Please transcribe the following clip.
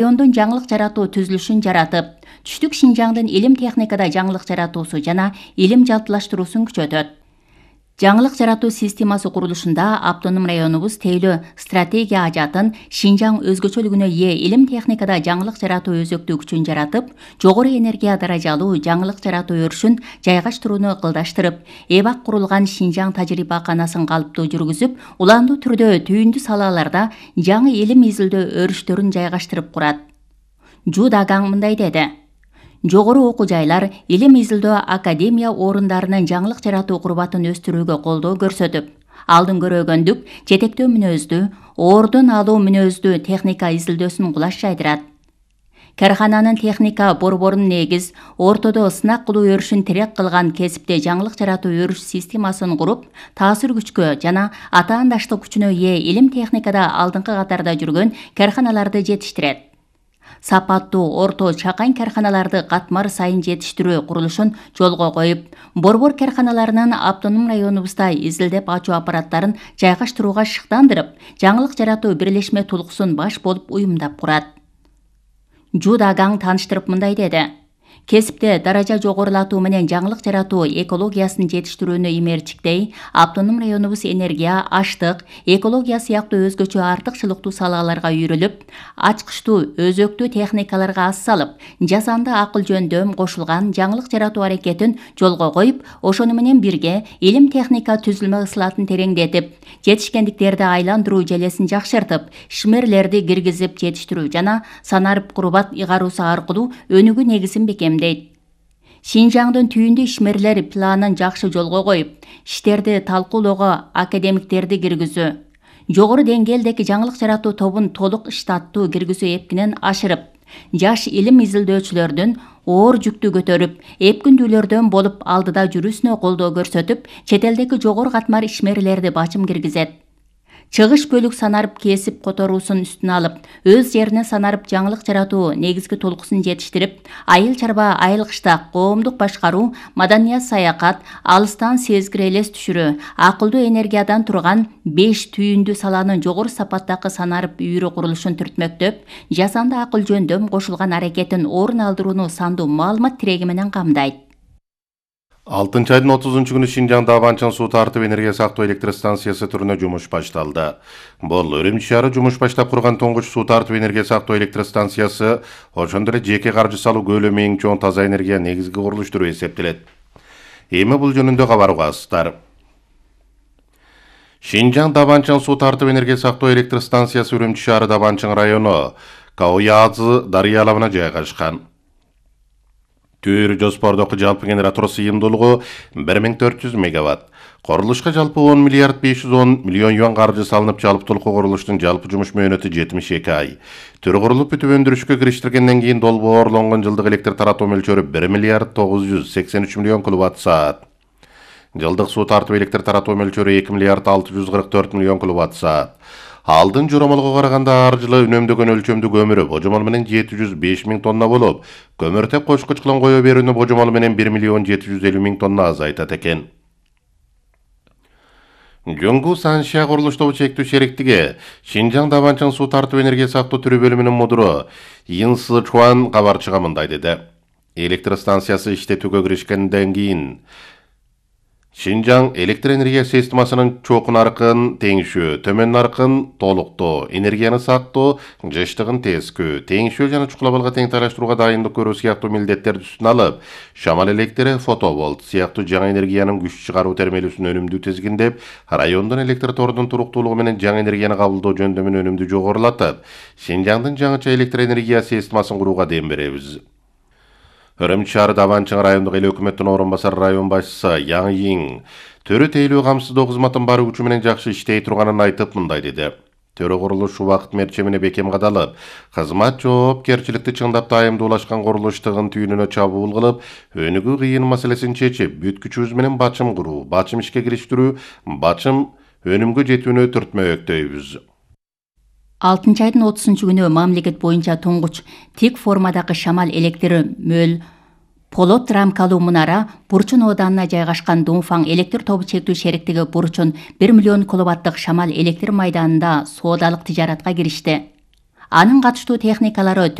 райондун жаңылык жаратуу түзүлүшүн жаратып, түштүк Шинжаңдын илим техникада жаңылык жаратуусу жана илим жалпылаштыруусун күчөтөт. Жаңылык жаратуу системасы курулушунда автоном районубуз тейлөө стратегия ажатын Шинжаң өзгөчөлүгүнө ээ илим техникада жаңылык жаратуу өзөктүү күчүн жаратып, жогору энергия даражалуу жаңылык жаратуу өрүшүн жайгаштырууну ыкылдаштырып, эбак курулган Шинжаң тажрыйбаканасын калыптуу жүргүзүп, уландуу түрдө түйүндү салаларда жаңы илим изилдөө өрүштөрүн жайгаштырып курат. Жу Дагаң мындай деди: жогору окуу жайлар илим изилдөө академия орундарынын жаңылык жаратуу курбатын өстүрүүгө колдоо көрсөтүп, алдын көрөгөндүк, жетектөө мүнөздүү, ордун алуу мүнөздүү техника изилдөөсүн кулаш жайдырат. Кархананын техника борборун негиз, ортодо сынак кылуу өрүшүн тирек кылган кесипте жаңылык жаратуу өрүш системасын куруп, таасир күчкө жана атаандаштык күчүнө ээ илим техникада алдыңкы катарда жүргөн карханаларды жетиштирет. Сапаттуу орто чакан карханаларды катмар сайын жетиштирүү курулушун жолго коюп, борбор карханаларынын автоном районубузда изилдеп ачуу аппараттарын жайгаштырууга шыктандырып, жаңылык жаратуу бирлешме тулкуусун баш болуп уюмдап курат. Жу Дагаң тааныштырып мындай деди: кесипте даража жогорулатуу менен жаңылык жаратуу экологиясын жетиштирүүнү имерчиктей, автоном районубуз энергия, аштык, экология сыяктуу өзгөчө артыкчылыктуу салаларга үйрүлүп, ачкычтуу, өзөктүү техникаларга аз салып, жасанды акыл жөндөм кошулган жаңылык жаратуу аракетин жолго коюп, ошону менен бирге илим техника түзүлмө ысылатын тереңдетип, жетишкендиктерди айландыруу желесин жакшыртып, ишмерлерди киргизип жетиштирүү жана санарып курбат ыйгаруусу аркылуу өнүгүү негизин бекемдейт. Шинжаңдын түйүндү ишмерлер планын жакшы жолго коюп, иштерди талкуулоого академиктерди киргизүү, жогору деңгээлдеги жаңылык жаратуу тобун толук штаттуу киргизүү эпкинен ашырып, жаш илим изилдөөчүлөрдүн оор жүктү көтөрүп, эпкүндүүлөрдөн болуп алдыда жүрүүсүнө колдоо көрсөтүп, чет элдеги жогору катмар ишмерлерди бачым киргизет. Чыгыш бөлүк санарып кесип которуусун үстүнө алып, өз жерине санарып жаңылык жаратуу негизги толкуусун жетиштирип, айыл чарба айыл кыштак, коомдук башкаруу, маданият саякат, алыстан сезгир элес түшүрүү, акылдуу энергиядан турган 5 түйүндүү саланын жогору сапаттагы санарып үйрү курулушун түртмөктөп, жасанды акыл жөндөм кошулган аракетин орун алдырууну сандуу маалымат тиреги менен камдайт. 6-айдын 30 күнү Шинжаңда Абанчан суу тартып энергия сактоо электр станциясы түрүнө жумуш башталды. Бул Өрүмчү шаары жумуш баштап курган тоңгуч суу тартып энергия сактоо электр станциясы, ошондой эле жеке каржы салуу көлөмү эң чоң таза энергия негизги курулуш түрү эсептелет. Эми бул жөнүндө кабар угасыздар. Шинжаң Абанчан суу тартып энергия сактоо электр станциясы Өрүмчү шаары Абанчан району Кауязы дарыя алабына жайгашкан. Түр жоспордогу жалпы генератор сыйымдуулугу 1400 мегаватт. Курулушка жалпы 10 миллиард 510 миллион юан каржы салынып, жалпытуулуку курулуштун жалпы жумуш мөөнөтү 72 ай. Түр курулуп бүтүп өндүрүшкө кириштиргенден кийин долбоорлонгон жылдык электр таратуу мөлчөрү 1 миллиард 983 миллион киловатт-саат. Жылдык суу тартып электр таратуу мөлчөрү 2 миллиард 644 миллион киловатт-саат. Алдын жоромолго караганда ар жылы үнөмдөгөн өлчөмдүү көмүрү божомол менен 705 миң тонна болуп, көмүртек кошкуч кылым кое берүүнү божомол менен 1 миллион 750 миң тонна азайтат экен. Жоңгу Саншия курулуштагы чектүү шериктиги Шинжаң Абанчан суу тартып энергия сактоо түрү бөлүмүнүн мудуру Ин Сы Чуан кабарчыга мындай деди: электр станциясы иштетүүгө киришкенден кийин Шинжаң электр энергия системасынын чоң наркын теңишүү, төмөн наркын толуктоо, энергияны сактоо, жыштыгын тескүү, теңишүү жана чукулабалга тең тайлаштырууга дайындык көрүү сыяктуу милдеттерди үстүнө алып, шамал электри, фотоволт сыяктуу жаңы энергиянын күч чыгаруу термелүүсүн өнүмдүү тизгиндеп, райондун электр торунун туруктуулугу менен жаңы энергияны кабылдоо жөндөмүн өнүмдүү жогорулатып, Шинжаңдын жаңыча электр энергия системасын курууга дем беребиз. Өрүмчү шаары Абанчан райондук эл өкмөттүн орун басары район башчысы Яң Йиң төрө тейлөө камсыздоо кызматын бар күчү менен жакшы иштей турганын айтып мындай деди: төрө курулуш убакыт мерчемине бекем кадалып, кызмат жоопкерчиликти чыңдап дайымдуулашкан курулуштугун түйүнүнө чабуул кылып, өнүгүү кыйын маселесин чечип, бүт күчүбүз менен бачым куруу, бачым ишке кириштирүү, бачым өнүмгө жетүүнү түртмөктөйбүз. 6-айдын 30 күнү мамлекет боюнча тоңгуч тик формадагы шамал электр мөл полот рамкалуу мунара Бурчун ооданына жайгашкан Дунфаң электр тобу чектүү шериктиги Бурчун 1 миллион киловаттык шамал электр майданында соодалык тижаратка киришти. Анын катыштуу техникалары